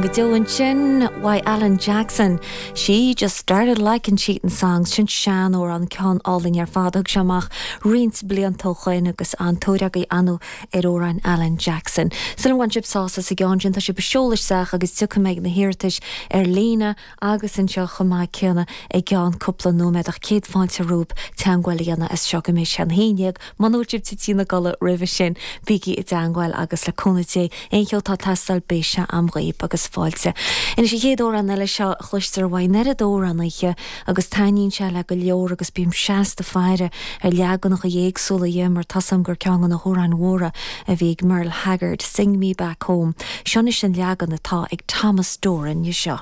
Go deo ansin uaidh Alan Jackson, She Just Started Likin' Cheatin' Songs, sin sean-amhrán, ceann álainn ar fad a thug sé amach roinnt blianta ó shoin agus an-tóir agaibh ar ndóigh ar amhráin Alan Jackson. Súil agam gur bhain sibh sásamh as an gceann sin, tá sibh ag seoladh isteach agus tiocfaidh mé ag na hiarratais ar líne agus anseo chomh maith céanna i gceann cúpla nóiméad ach céad fáilte romhaibh teangmháil a dhéanamh as seo go mbeidh sé an 11. Muna bhfuil sibh tite ina gcodladh roimhe sin, bígí i dteangmháil agus le cúnamh Dé, aon cheo atá ag teastáil beidh sé a'm dhaoib agus fáilte. Anois an chéad amhrán eile seo a chloistear uaidh an oiread amhránaithe agus taitníonn sé le go leor agus bím seasta faire ar leaganacha éagsúla dhe mar tá's a'm gur ceann de na hamhráin mhóra a bhí ag Merle Haggard, Sing Me Back Home. Seo anois an leagan atá ag Thomas Doran dhe seo.